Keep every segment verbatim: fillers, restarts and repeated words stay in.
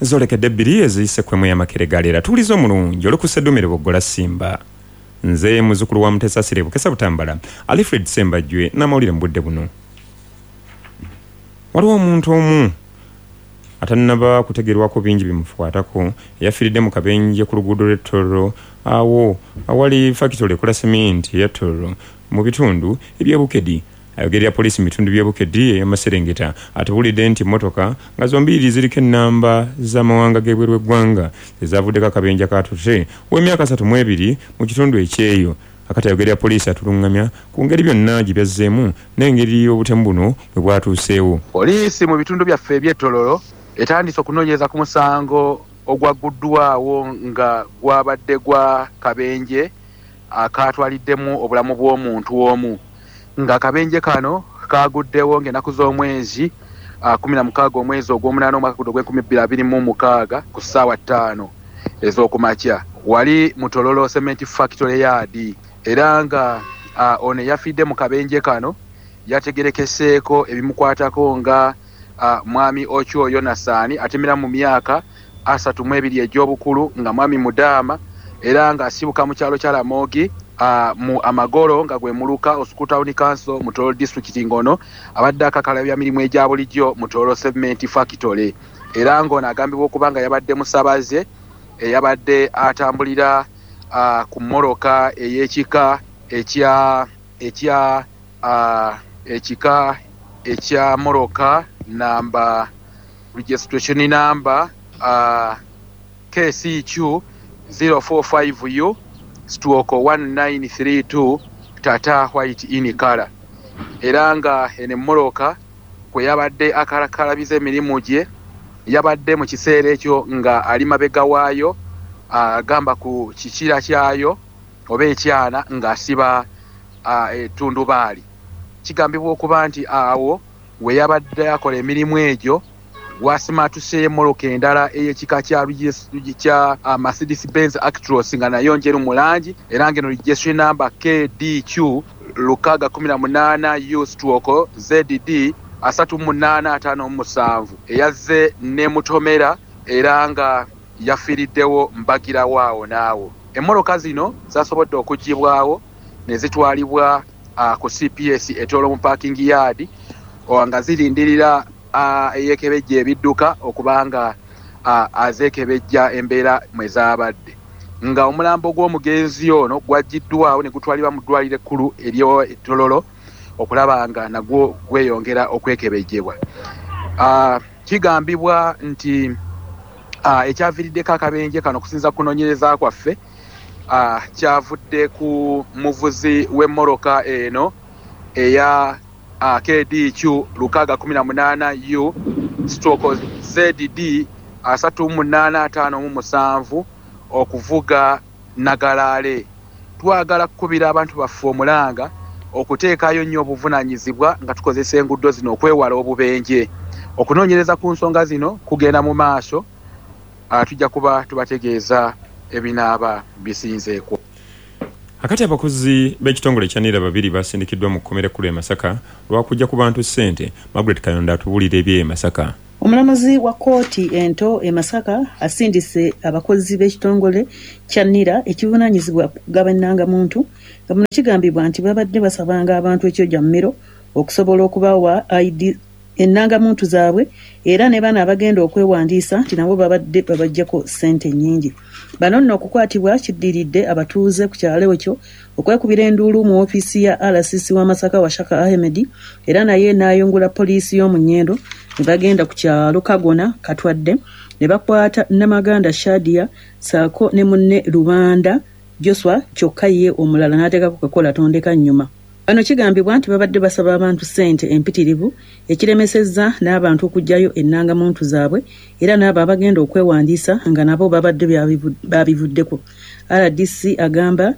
Zolekedde bbiri eziyise ku emu y'amakere galeera. Tuwuliza omulungi olukuseddumire bwoggola Simba. Nze muzzukulu wa Mutesa Sire Bukesa Butambala, Alfred Sembajwe n'amawulire mu budde buno. Waliwo omuntu omu atannaba kutegeerwako bingi bimukwatako eyafiiridde mu kabenje ku luguudo lw'e Tororo awo awali fakitole ekola seminti eya Tororo mu bitundu eby'e Bukedi. Ayogerera poliisi mu bitundu by'e Bukedi ey'amaserengeta atubuulidde nti mmotoka nga zombiriri ziriko ennamba z'amawanga g'ebweru w'eggwanga ezaavuddeko akabenje kaatute ow'emyaka asatu mu ebiri mu kitundu ekyeyo. Akati ayogerera poliisi atulungamya ku ngeri byonna gye byazzeemu n'engeri obutemu buno bwe bwatuuseewo. Poliisi mu bitundu byaffe eby'e Tororo etandise okunoonyereza ku musango ogwagguddwawo nga gwabadde gwa kabenje akatwaliddemu obulamu bw'omuntu omu. Nga akabenje kano kaguddewo ng'ennaku z'omwezi kumi na mukaaga omwezi ogw'omunaana omwaka guno ogw'enkumi bbiri abiri mu mukaaga ku ssaawa ttaano ez'okumakya wali mu Tororo Cement Factory Yard. Era nga ono yafiidde mu kabenje kano yategerekeseeko ebimukwatako nga mwami Ochwo Yonasaani atemera mu myaka asatu mu ebiri egy'obukulu nga mwami Mudaama era nga asibuka mu kyalo kya Ramogi Uh, mu Amagoro nga gwe muluka Osuku Town Council mu Tororo District. Ngono abadde akakalabya mirimu egya bulijjo mu Tororo Cement Factory era ng'ono agambibwa okuba nga yabadde musabaze eyabadde atambulira uh, ku mmoloka ey'ekika ekya ekya uh, ekika ekya moroka namba registration number uh, K C Q zero four five U stroke one nine three two Tata white in color. Era nga eno emmoloka kwe yabadde akalakalabiza emirimu gye yabadde mu kiseera ekyo nga ali mabega waayo agamba ku kikira kyayo oba ekyana ng'asiba ettundubaali. Kigambibwa okuba nti awo we yabadde akola emirimu egyo wasimaatuseyo emmoloka endala ey'ekika kya kya Mercedes Benz Actros nga nayo njeru mu langi era ng'eno registration number K D Q lukaaga kumi na munaana U stroke Z D asatu munaana ataano mu musanvu eyazze n'emutomera era nga yafiiriddewo mbagirawo awo naawo. Emmoloka zino zasobodde okuggyibwawo ne zitwalibwa ku C P S e Tororo mu parking yard nga zirindirira eyeekebejja ebidduka okubanga azeekebejja embeera mwe zaabadde. Nga omulambo gw'omugenzi ono gwaggiddwawo ne gutwalibwa mu ddwaliro ekkulu ery'e Tororo okulaba nga nagwo gweyongera okwekebejjebwa. Kigambibwa nti ekyaviiriddeko akabenje kano okusinziira ku kunoonyereza kwaffe kyavudde ku muvuzi w'emmoloka eno eya K D Q lukaaga kumi na munaana U stroke Z D asatu munaana ataano mu musanvu okuvuga Nagalaale. Twagala kukubira abantu baffe omulanga okuteekayo nnyo obuvunaanyizibwa nga tukozesa enguudo zino okwewala obubenje. Okunoonyereza ku nsonga zino kugenda mu maaso, tujja kuba tubategeeza ebinaaba bisinzeeko. Akati abakozi b'ekitongole kya NIRA babiri basindikiddwa mu kkomera ekkulu e Masaka lwakujja ku bantu ssente. Margaret Kayonda atubuulira eby'e Masaka. Omulamuzi wa kkooti ento e Masaka asindise abakozi b'ekitongole kya NIRA ekivunaanyizibwa ku kugaba ennangamuntu nga muno kigambibwa nti babadde basabanga abantu ekyojammiro okusobola okubawa I D ennangamuntu zaabwe era ne bano abagenda okwewandiisa nti nabo babadde babaggyako ssente nnyingi. Bano nno okukwatibwa kiddiridde abatuuze ku kyalo ekyo okwekubira enduulu mu ofiisi ya R C C wa Masaka Washaka Ahmed era naye n'ayungula poliisi y'omu Nnyendo ne bagenda ku kyalo Kagona Katwadde ne bakwata Namaganda Shadia ssaako ne munne Lubanda Joshua kyokka ye omulala n'ateekako kakola tondeka nnyuma. Bano kigambibwa nti babadde basaba abantu ssente empitirivu ekiremesezza n'abantu okuggyayo ennangamuntu zaabwe era n'abo abagenda okwewandiisa nga nabo babadde babivuddeko. R D C agamba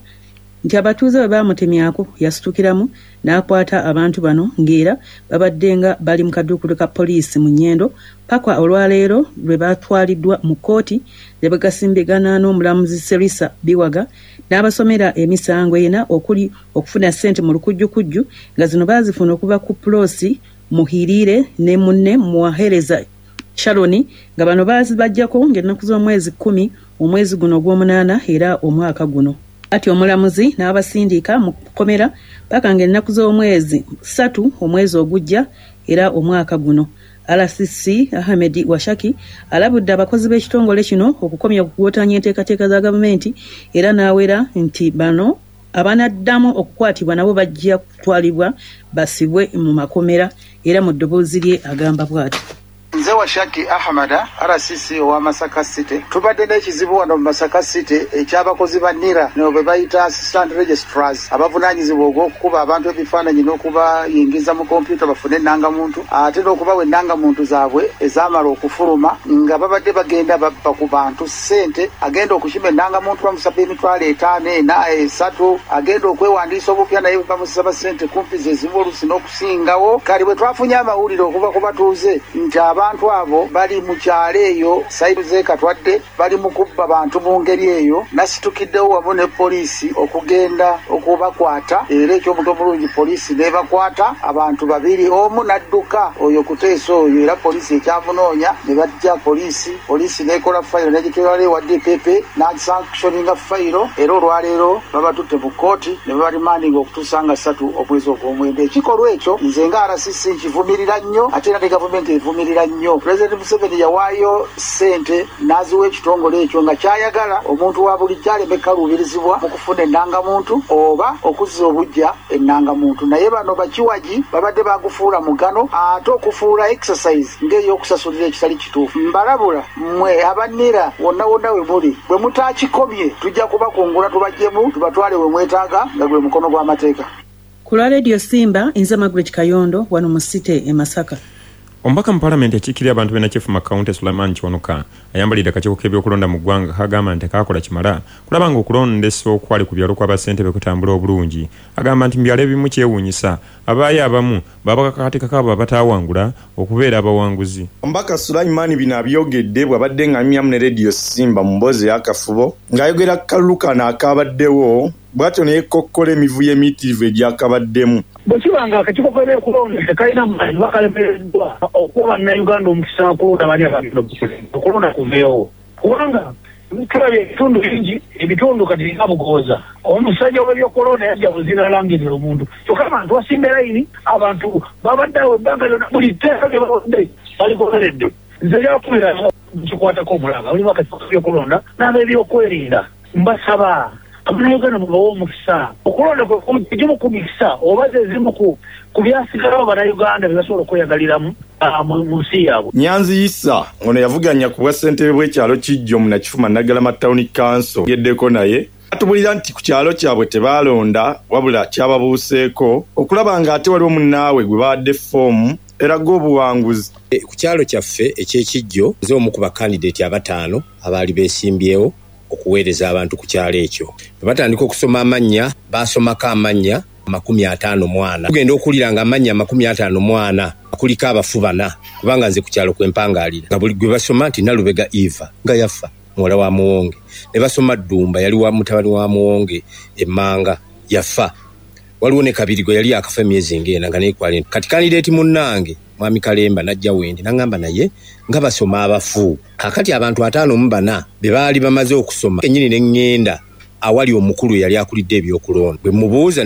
nti abatuuze bwe baamutemyako yasitukiramu n'akwata abantu bano ng'era babadde nga bali mu kaduukulu ka poliisi mu Nnyendo paka olwaleero lwe batwaliddwa mu kkooti ne bagasimbagana n'omulamuzi Serisa Biwaga n'abasomera emisango ena okuli okufuna ssente mu lukujjukujju nga zino baazifuna okuva ku Pulosi Muhirire ne munne Muwahereza Sharon, nga bano baazibaggyako ng'ennaku z'omwezi kkumi omwezi guno ogw'omunaana era omwaka guno. Ati omulamuzi n'abasindika mu kkomera paka ng'ennaku z'omwezi ssatu omwezi ogujja era omwaka guno. R C C Ahmed Washaki alabudde abakozi b'ekitongole kino okukomya okugootanya enteekateeka za gavumenti era n'awera nti bano abanaddamu okukwatibwa nabo bajja kutwalibwa basibwe mu makomera. Era mu ddoboozi lye agamba bw'ati: Nze Washaki Ahmada, R C C owa Masaka City. Tubadde n'ekizibu wano mu Masaka City eky'abakozi ba NIRA, no be bayita assistant registrars, abavunaanyizibwa ogw'okukuba abantu ebifaananyi n'okubayingiza mu kompyuta bafune ennangamuntu, ate n'okubawa ennangamuntu zaabwe ezaamala okufuluma, nga babadde bagenda babba ku bantu ssente. Agenda okukima ennangamuntu bamusaba emitwalo etaano, ena, esatu, agenda okwewandiisa obupya naye bamusaba ssente kumpi ze zimu oluusi n'okusingawo. Kale bwe twafunye amawulire okuva ku batuuze nti abantu abo bali mu kyalo eyo saibu z'e Katwadde bali mu kubba bantu mu ngeri eyo, nasitukiddewo wamu ne poliisi okugenda okubakwata, era ekyomuto omulungi poliisi n'ebakwata abantu babiri, omu n'adduka oyo kuteesa oyo, era poliisi ekyamunoonya ne bajja poliisi, poliisi n'ekola fayiro n'egitwala ewa D P P n'asanctioninga fayiro, era olwaleero babatutte mu kkooti ne babarimandinga okutuusa nga ssatu omwezi ogw'omwenda. Ekikolwa ekyo nze nga R C C nkivumirira nnyo, ate era ne gavumenti evumirira nnyo. Pulezidenti Museveni yawaayo ssente n'aziwa ekitongole ekyo nga kyayagala omuntu wa bulijjo aleme kaluubirizibwa mu kufuna ennangamuntu oba okuzza obuggya ennangamuntu, naye bano bakiwagi babadde bagufuula mugano ate okufuula exercise ng'ey'okusasulira ekitali kituufu. Mbalabula mmwe aba NIRA wonna wonna we muli, bwe mutaakikomye tujja kubakungula tubaggyemu tubatwale we mwetaaga nga gwe mukono gw'amateeka. Ku lwa Radio Simba, nze Margaret Kayondo wano mu City e Masaka. Omubaka mu paalamenti akiikirira abantu b'e Nakifuma County Sulaiman Kiwanuka ayambalidde akakiiko k'ebyokulonda mu ggwanga kagamba nti tekakola kimala kulaba ng'okulondesa okwali ku byalo kw'abassentebe kutambula obulungi. Agamba nti mu byalo ebimu kyewuunyisa abaayo abamu babakakatikako abo abataawangula okubeera abawanguzi. Omubaka Sulaiman bino abyogedde bw'abadde ng'anyumyamu ne Radio Simba mu mboozi ey'akafubo ng'ayogera ku kalulu kano akabaddewo, bw'atyo ne yeekokkola emivuyo emiyitirivu egyakabaddemu. Bwe kiba nga akakiiko k'ebyokulonda tekalina maanyi, bakalemereddwa okuwa bannayuganda omukisa okulonda bani abagenda okukulembera, okulonda kuveewo, kubanga tulabye ebitundu bingi, ebitundu kati nga Bugooza, omusajja w'ebyokulonda yajja buzira alangirira omuntu, kyokka abantu basimba layini, abantu babadde awo ebbanga lyonna, buli tteeka lye bawadde baligoberedde. Nze lyakubira kikwatako omulanga mulimu akakiiko k'ebyokulonda n'ab'ebyokwerinda, mbasaba Abannayuganda mubawe omukisa. Okulonda kwe gimu ku mikisa oba ze zimu ku byasigalawo Bannayuganda bye basobola okweyagaliramu mu nsi yaabwe. Nyanzi Isa ono yavuganya ku bwassentebe bw'ekyalo Kijjo mu Nakifuma Naggalama Town Council, yeddeko naye atubulira nti ku kyalo kyabwe tebaalonda wabula kyababuuseeko okulaba ng'ate waliwo munnaawe gwe bawadde ffoomu eraga obuwanguzi. Ku kyalo kyaffe eky'Ekijjo nze omu ku bakandidate abataano abaali beesimbyewo okuweereza abantu ku kyalo ekyo. Bwe batandika okusoma amannya, baasomako amannya amakumi ataano mu ana. Tugenda okuwulira nga amannya amakumi ataano mu ana kuliko abafu bana, kubanga nze ku kyalo kwe mpangaalira. Nga buli gwe basoma nti Nalubega Eva nga yafa muwala wa Muwonge, ne basoma Ddumba yali wa mutabani wa Muwonge emmanga yafa. Waliwo ne Kabiri gwe yali akafa emyezi ng'ena nga naye kwali. Kati kandideeti munnange Mwami Kalemba n'ajja wendi n'aŋŋamba naye nga basoma abafu. Kaakati abantu ataano mu bana be baali bamaze okusoma kennyini ne ŋŋenda awali omukulu eyali akulidde ebyokulonda. Bwe mubuuza